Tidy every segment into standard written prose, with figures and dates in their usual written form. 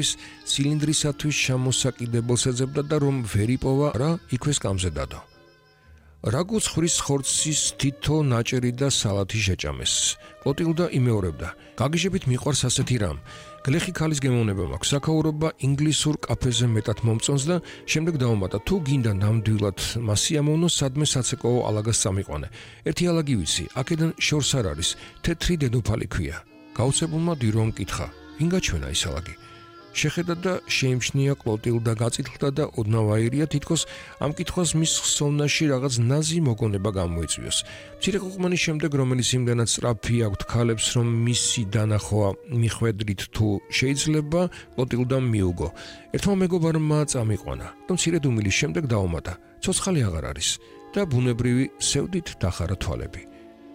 ის ცილინდრისათვის ჩამოსაკიდებელს ეძებდა და რომ ვერ იპოვა რა იქვე სკამზე დადო. Რაგუც ხვრის ხორცის თითო ნაჭერი და სალათი შეჭამეს. კლოტილდა იმეორებდა. გაგიჟებით მიყვარს ასეთი რამ. გლეხი ქალის გემოვნება მაქვს. საქაურობა ინგლისურ კაფეზე მეტად მომწონს და შემდეგ დაუმატა თუ გინდა ნამდვილად მასიამოვნო სადმე საცეკოო ალაგას წამიყვანე. ერთი ალაგი ვიცი, აქედან შორს არ არის, თეთრი დედოფალი ქვია. გაუცებულმა დირომ კითხა. ვინ გაჩვენა ის ალაგი? შეხედა და შეიმჩნია კლოტილდა გაწითლდა და ოდნავ თითქოს ამ კითხვას მის ხსოვნაში რაღაც ნაზი მოგონება გამოიწვიოს. მცირე ყუყმანის შემდეგ, რომელიც იმდანაც სწრაფი აქვთ ქალებს, რომ მისი დანახვა მიხვედრით თუ შეიძლება, კლოტილდამ მიუგო. ერთმა მეგობარმა წამიყვანა და მცირედ უმილის შემდეგ დაუმატა. ცოცხალი აღარ არის და ბუნებრივი სევდით დახარა თვალები.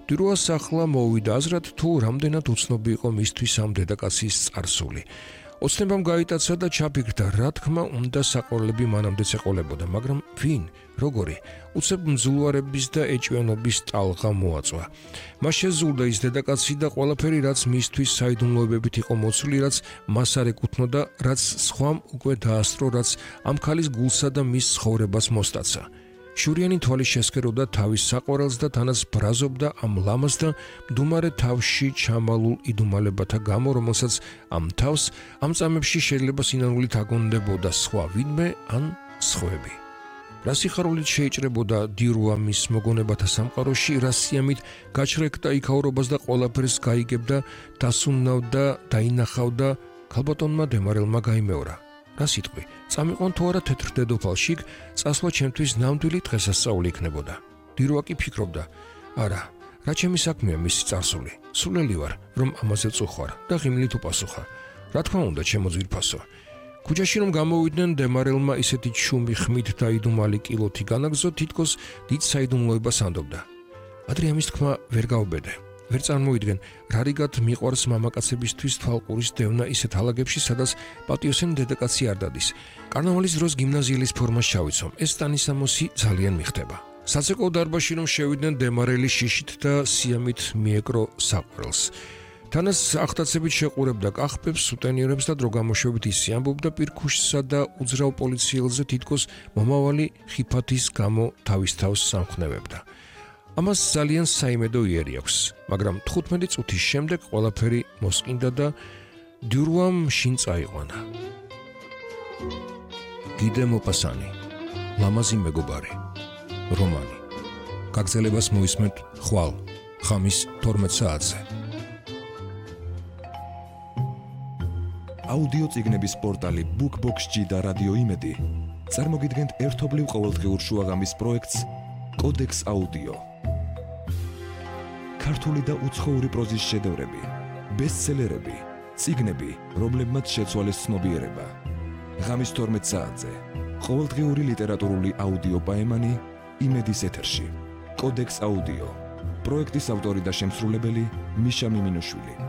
დიროას ახლა მოვიდა აზრად თუ რამდენად უცნობი იყო მისთვის ამ დედაკაცის წარსული. ოცნებამ გაიტაცა და ჩაფიქრდა, რა თქმა უნდა საყოველები მანამდეც ეყოლებოდა, მაგრამ ვინ, როგორი, უცებ მძულვარების და ეჭვიანობის ტალღა მოაწვა. მას შეზულდა ის დედაკაცი და ყველაფერი, რაც მისთვის საიდუმლოებებით იყო მოცული, რაც მას არ ეკუთვნოდა, რაც სხვამ უკვე დაასწრო, რაც ამ ქალის გულსა და მის ცხოვრებას მოსტაცა. შურიანი თვალი შესქეროდა თავის საყვარელს და თანაც ბრაზობდა ამ ლამაზ და მდუმარე თავში ჩამალულ იდუმალებათა გამო, რომელსაც ამ თავს ამ წამებში შეიძლება სინანულით აგონდებოდა სხვა ვინმე ან სხვები. რა სიხარულით შეიჭრებოდა დიროა მის მოგონებათა სამყაროში, რა სიამით გაჩრეკდა იქაურობას და ყველაფერს გაიგებდა, დასუნავდა, დაინახავდა, ქალბატონმა დემარელმა გაიმეორა. რა სიტყვი, წამიყვან თუ არა თეთრ დედოფალში, წასვლა ჩემთვის ნამდვილი დღესასწაული იქნებოდა. დიროა კი ფიქრობდა, არა, რა ჩემი საქმეა მისი წარსული. სულელი ვარ, რომ ამაზე წუხვარ და ღიმილით უპასუხა. რა თქმა უნდა, ჩემო ძვირფასო. ქუჩაში რომ გამოვიდნენ, დემარელმა ისეთი ჩუმი ხმით და იდუმალი კილოთი განაგზო, თითქოს დიდ საიდუმლოებას ანდობდა. ადრე ამის თქმა ვერ გავბედე. ვერ წარმოიდგენ, რა რიგად მიყვარს მამაკაცებისთვის თვალყურის დევნა ისეთ ალაგებში, სადაც პატიოსანი დედაკაცი არ დადის. კარნავალის დროს გიმნაზიელის ფორმას ჩავიცომ. ეს ტანისამოსი ძალიან მიხდება. საცეკოო დარბაზში რომ შევიდნენ, დემარელი შიშით და სიამით მიეკრო საყვარელს. თანაც ახტაცებით შეყურებდა კახბებს, სუტენიერებს და დროგამოშვებით ისე ამბობდა პირქუშსა და უძრავ პოლიციელზე თითქოს მომავალი ხიფათის გამო თავის თავს სამხნევებდა. ამას ძალიან საიმედო იერი აქვს, მაგრამ 15 წუთის შემდეგ ყველაფერი მოსყინდა და დიროამ შინ წაიყვანა. გიდე მოპასანი, ლამაზი მეგობარი, რომანი. გაგრძელებას მოისმენთ ხვალ, ხამის 12 საათზე. აუდიო წიგნების პორტალი BookBox-ში და რადიო იმედი წარმოგიდგენთ ერთობლივ ყოველდღიურ შუაღამის პროექტს კოდექს აუდიო. ქართული და უცხოური პროზის შედევრები, ბესტსელერები, წიგნები, რომლებმაც შეცვალეს ცნობიერება. ღამის 12 საათზე ყოველდღიური ლიტერატურული აუდიო პაემანი იმედის ეთერში. კოდექს აუდიო. პროექტის ავტორი და შემსრულებელი მიშა მიმინოშვილი.